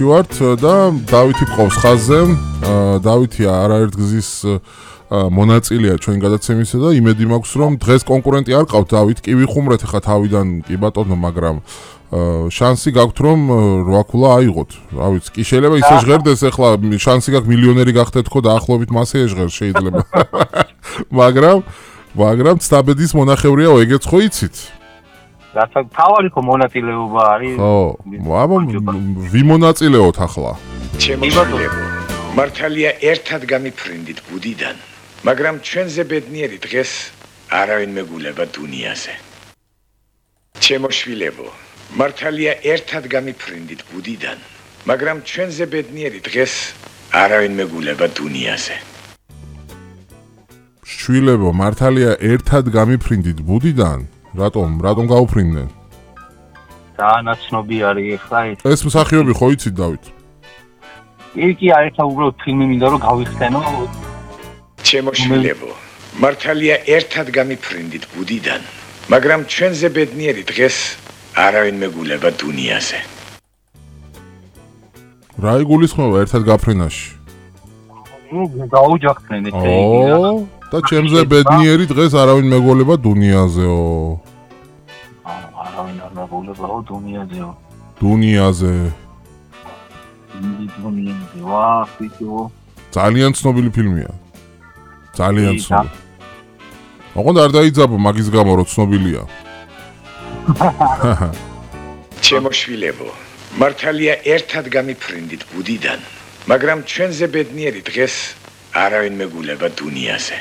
ვართ და დავითი ყავს ხაზზე. დავითი არაერთ გზის მონაწილეა ჩვენ გადაცემისა და იმედი მაქვს რომ დღეს კონკურენტი არ ყავთ დავით კი ვიხუმრეთ ხა თავიდან კი ბატონო მაგრამ შანსი გაქვთ რომ რვაქულა აიღოთ. რა ვიცი, კი შეიძლება ისე ჟღერდეს ახლა შანსი გაქვს მილიონერი გახდეთ ხო დაახლოებით მასე ეჟღერს შეიძლება. მაგრამ ცდაბედის მონახევრიაო ეგეც ხო იცით? რაცა თავარი ხო მონაწილეობა არის. ხო, აბა ვიმონაწილეოთ ახლა. ჩემოშვილებო, მართალია ერთად გამიფრინდით ბუდიდან, მაგრამ ჩვენზე ბედნიერი დღეს არავინ მეგულება დუნიაზე. ჩემოშვილებო, მართალია ერთად გამიფრინდით ბუდიდან, მაგრამ ჩვენზე ბედნიერი დღეს არავინ მეგულება დუნიაზე. შვილებო, მართალია ერთად გამიფრინდით ბუდიდან რატომ გაუფრინდნენ? დაანაცნობი არის ხა ეს. ეს მსახიობი ხო იცით დავით? კი არის ხა უბრალოდ ფილმი მინდა რომ გავიხსენო. ჩემოშვილებო, მართალია ერთად გამიფრინდით ბუდიდან, მაგრამ ჩვენზე ბედნიერი დღეს არავინ მეგულება დუნიაზე. რა იგულისხმება ერთად გაფრენაში? დაუჯახდნენ ესე იგი რა. და ჩემზე ბედნიერი დღეს არავინ მეგულება დუნიაზეო. არავინ არ მეგულებაო დუნიაზეო. დუნიაზე. დუნიაზე ვა ფიქრო. ძალიან ცნობილი ფილმია. ძალიან ცნობილი. ოღონდ არ დაიძაბო მაგის გამო რომ ცნობილია. ჩემოშვილებო, მართალია ერთად გამიფრინდით ბუდიდან, მაგრამ ჩვენზე ბედნიერი დღეს არავინ მეგულება დუნიაზე.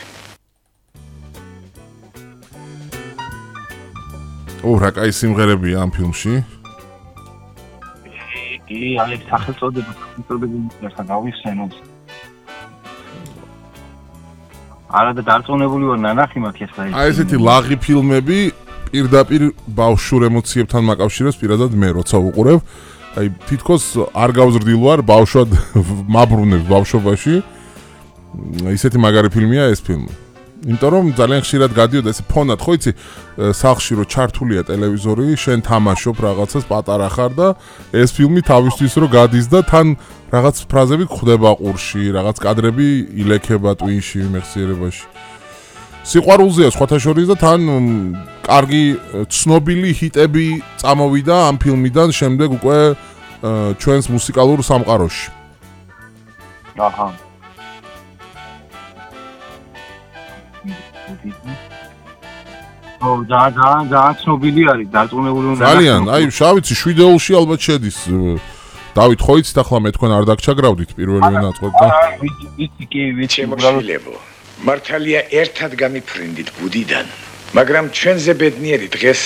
რა კაი სიმღერებია ამ ფილმში? კი, აი სახელწოდება გავიხსენოთ. არა და დარწმუნებული ვარ ნანახი მაქვს ეს რა. აი ესეთი ლაღი ფილმები პირდაპირ ბავშვურ ემოციებთან მაკავშირებს პირადად მე როცა ვუყურებ. აი თითქოს არ გავზრდილ ვარ ბავშვად მაბრუნებს ბავშვობაში. ისეთი მაგარი ფილმია ეს ფილმი. იმიტომ რომ ძალიან ხშირად გადიოდა ეს ფონად ხო იცი სახლში რო ჩართულია ტელევიზორი, შენ თამაშობ რაღაცას პატარა ხარ და ეს ფილმი თავისთვის რო გადის და თან რაღაც ფრაზები გვხვდება ყურში, რაღაც კადრები ილექება ტვინში, მეხსიერებაში. სიყვარულზეა სხვათა შორის და თან კარგი ცნობილი ჰიტები წამოვიდა ამ ფილმიდან შემდეგ უკვე ჩვენს მუსიკალურ სამყაროში. აჰა. ძალიან ცნობილი არის, დარწმუნებული ვარ. ძალიან, აი შავიცი 7-ში ალბათ შედის. დავით ხო იცით ახლა მე თქვენ არ დაგჩაგრავდით პირველი ნაწყვეტ და ვიცი კი, ჩემოშვილებო, მართალია ერთად გამიფრინდით ბუდიდან, მაგრამ ჩვენზე ბედნიერი დღეს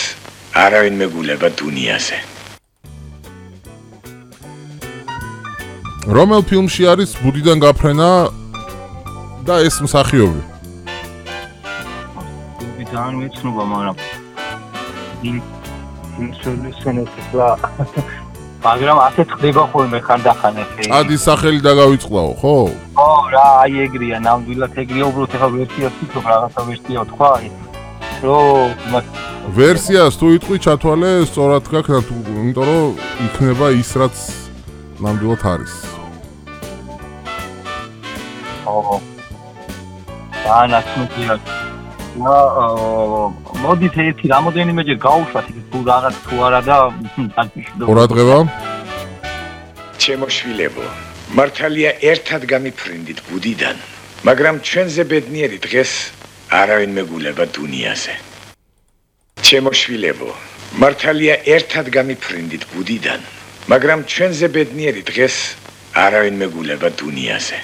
არავინ მეგულება დუნიაზე. რომელ ფილმში არის ბუდიდან გაფრენა და ეს მსახიობი? ძალიან მეცნობა, მაგრამ მაგრამ ასეთ ხდება ხოლმე ხანდახან ესე. ადის სახელი დაგავიწყდაო, ხო? ხო, რა, აი ეგრეა, ნამდვილად ეგრეა, უბრალოდ ახლა ვერსიას ვთქვი, რაღაცა ვერსია თქვა, რომ ვერსიას თუ იტყვი ჩათვალე, სწორად გაქვს, იმიტომ რომ იქნება ის რაც ნამდვილად არის. ხო. დაანაცნობია. მოდით ერთი რამოდენიმეჯერ გავუშვათ იქ თუ რაღაც თუ არა და ყურადღება. ჩემოშვილებო, მართალია ერთად გამიფრინდით ბუდიდან, მაგრამ ჩვენზე ბედნიერი დღეს არავინ მეგულება დუნიაზე. ჩემოშვილებო, მართალია ერთად გამიფრინდით ბუდიდან, მაგრამ ჩვენზე ბედნიერი დღეს არავინ მეგულება დუნიაზე.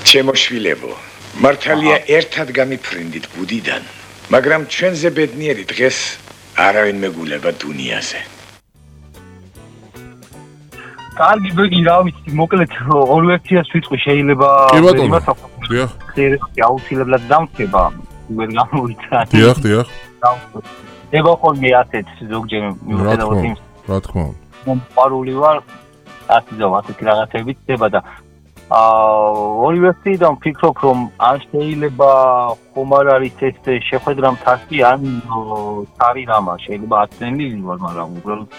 ჩემოშვილებო, მართალია ერთად გამიფრინდით ბუდიდან, მაგრამ ჩვენზე ბედნიერი დღეს არავინ მეგულება დუნიაზე. კარგი ბეგი რა ვიცი, მოკლედ ორ ვერსიას ვიტყვი შეიძლება კი ბატონო. დიახ. აუცილებლად დამწება, ვერ გამოვიცან. დიახ. ება ხოლმე ასეთ ზოგჯერ მიუხედავად იმ რა თქმა უნდა. მომყარული ვარ ასეთი რაღაცები ხდება და ორი ვერსიიდან ვფიქრობ რომ ან შეიძლება ხომ არ არის ეს შეხვედრა მთაში ან თარი რამა შეიძლება აცდენილი ვარ მაგრამ უბრალოდ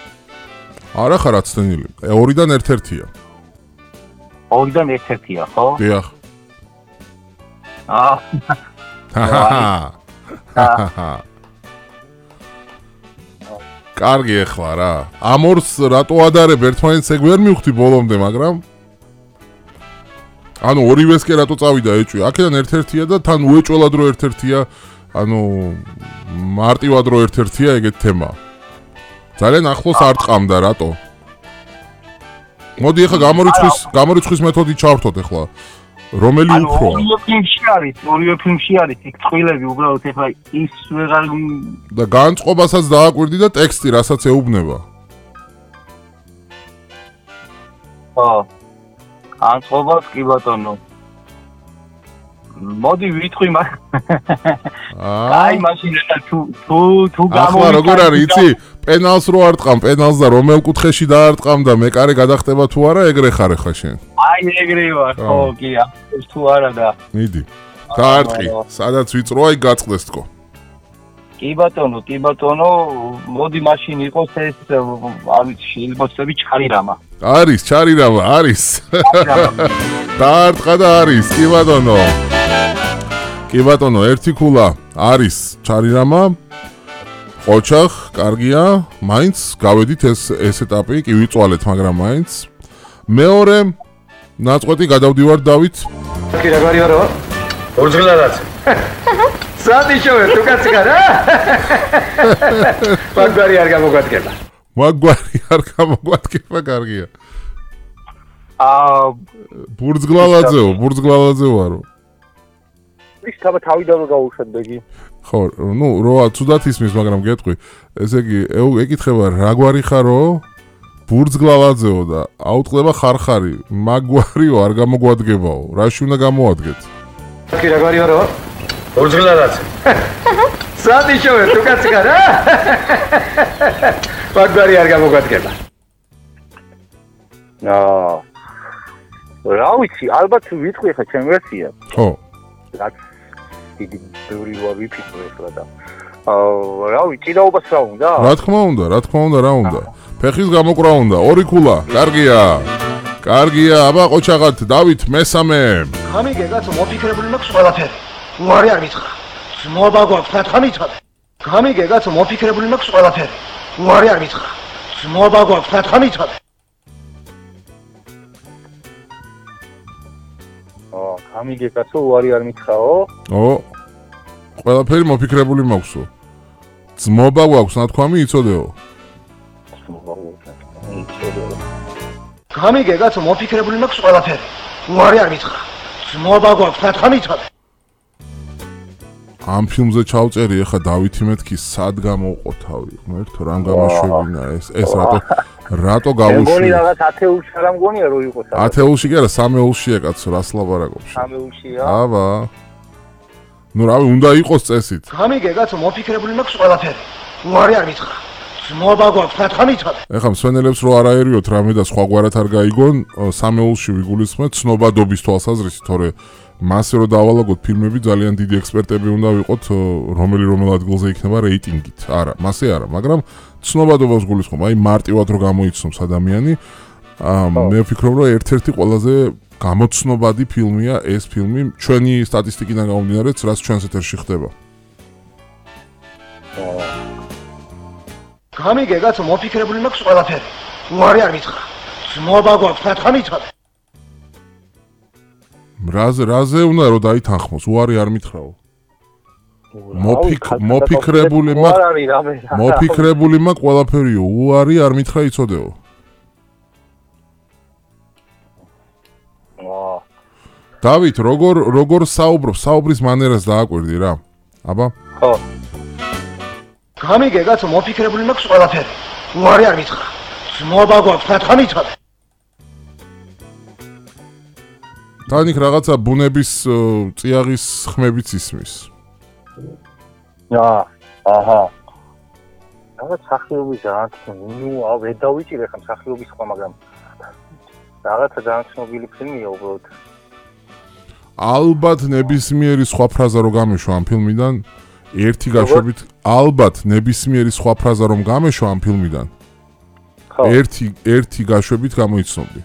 არა ხარ აცდენილი. ორიდან ერთ-ერთია. ორიდან ერთ-ერთია, ხო? დიახ. კარგი ახლა რა. ამ ორს რატო ადარებ ერთმანეთს ეგ ვერ მივხვდი ბოლომდე, მაგრამ ანუ ორივეს კი რატო წავიდა ეჭვი? აქედან ერთ-ერთია და თან უეჭველად რო ერთ-ერთია, ანუ მარტივად რო ერთ-ერთია ეგეთ თემა. ძალიან ახლოს არ ტყამდა რატო? მოდი ახლა გამორიცხვის მეთოდი ჩავრთოთ ახლა. რომელი უფრო? ორივე ფილმში არის იქ წყვილები უბრალოდ ახლა ის ვეღარ და განწყობასაც დააკვირდი და ტექსტი რასაც ეუბნება. ხო. განწყობას კი ბატონო. მოდი ვიტყვი მაგ. აი მაშინ თუ ახლა როგორ არის იცი? პენალს რო არ ტყამ, პენალს და რომელ კუთხეში დაარტყამ და მეკარე გადახტება თუ არა, ეგრე ხარ ახლა შენ. აი ეგრე ვარ, ხო, კი, ეს თუ არა და. მიდი. დაარტყი, სადაც ვიწროა, იქ გაწყდეს თქო. კი ბატონო, მოდი მაშინ იყოს ეს, არის შეიძლება ჩარირამა. არის, ჩარირამა, არის. დაარტყა და არის, კი ბატონო. კი ბატონო, ერთი ქულა არის ჩარირამა. ოჩახ, კარგია, მაინც გავედით ეს ეტაპი, კი ვიწვალეთ, მაგრამ მაინც. მეორე ნაწყვეტი გადავდივარ დავით. კი რა გარი ვარო? ორძღლადაც. სადიშოვე თუ კაცი გარა? მაგვარი არ გამოგვადგება. მაგვარი არ გამოგვადგება, კარგია. ბურძგლალაძე ვარო. ის თავიდან გავუშვათ ბეგი. ხო, ნუ როა ცუდად ისმის, მაგრამ გეტყვი. ესე იგი, ეკითხება რა გვარი ხარო? ბურძგლალაძეო და აუტყდება ხარხარი. მაგვარიო არ გამოგვადგებაო. რაში უნდა გამოადგეთ? კი რა გვარი ვარო? ორძღლადაც. სადიშოვე თუ კაცი გარა? მაგვარი არ გამოგვადგება. რა ვიცი, ალბათ ვიტყვი ხა ჩემ ვერსია. ხო. რაც დიდი ბევრი ვარ ვიფიქრე ახლა და რა ვიცი, ჭიდაობას რა უნდა? რა თქმა უნდა, რა უნდა? ფეხის გამოკრა უნდა, ორი ქულა, კარგია, აბა ყოჩაღად, დავით მესამე. გამიგე კაცო, მოფიქრებული მაქვს ყველაფერი. უარი არ მითხრა. ძმობა გვაქვს, ნათხა მიცადე. გამიგე კაცო, მოფიქრებული მაქვს ყველაფერი. უარი არ მითხრა. ძმობა გვაქვს, ნათხა მიცადე. გამიგე კაცო, უარი არ მითხრაო? ყველაფერი მოფიქრებული მაქვსო. ძმობა გვაქვს, ნათქვამი იცოდეო. გამიგე კაცო, მოფიქრებული მაქვს ყველაფერი. უარი არ მითხრა. ძმობა გვაქვს, ნათხა მიცადე. ამ ფილმზე ჩავწერი ახლა დავითი მეთქი სად გამოვყო თავი. მერტო რამ გამაშვებინა ეს რატო გავუშვი? მგონი რაღაც 10-ულში არ მგონია რო იყოს. 10-ულში კი არა, 3-ულშია კაცო, რას ლაპარაკობ? 3-ულშია? აბა. ნუ რავი, უნდა იყოს წესით. გამიგე კაცო, მოფიქრებული მაქვს ყველაფერი. უარი არ მითხრა. ძმობა გვაქვს, ნათხა მიცადე. ეხლა მსვენელებს რო არ აერიოთ რამე და სხვაგვარად არ გაიგონ, 3-ულში ვიგულისხმეთ ცნობადობის თვალსაზრისით, თორე მასე რო დავალაგოთ ფილმები, ძალიან დიდი ექსპერტები უნდა ვიყოთ, რომელ ადგილზე იქნება რეიტინგით. არა, მასე არა, მაგრამ ცნობადობას გულისხმობ, აი მარტივად რო გამოიცნობს ადამიანი, მე ვფიქრობ, რომ ერთ-ერთი ყველაზე გამოცნობადი ფილმია ეს ფილმი, ჩვენი სტატისტიკიდან გამომდინარე, რაც ჩვენს ეთერში ხდება. გამიგე კაცო, მოფიქრებული მაქვს ყველაფერი. უარი არ მითხრა. ძმობა გვაქვს, ნათხა მიცადე. რაზე უნდა რომ დაითანხმოს, უარი არ მითხრაო. მოფიქრებული მაქვს ყველაფერიო, უარი არ მითხრა იცოდეო. დავით, როგორ საუბრის მანერას დააკვირდი რა? აბა? ხო. გამიგე კაცო, მოფიქრებული მაქვს ყველაფერი. უარი არ მითხრა. ძმობა გვაქვს, ნათხა მიცადე. თანიქ რაღაცა ბუნების წიაღის ხმებიც ისმის. აჰა. რაღაც სახიობის განცნო, ვერ დავიჭირე ხა სახიობის ხმა, მაგრამ რაღაცა ძალიან ცნობილი ფილმია უბრალოდ. ალბათ ნებისმიერი სხვა ფრაზა რომ გამეშვა ამ ფილმიდან, ალბათ ნებისმიერი სხვა ფრაზა რომ გამეშვა ამ ფილმიდან, ერთი გაშვებით გამოიცნობდი.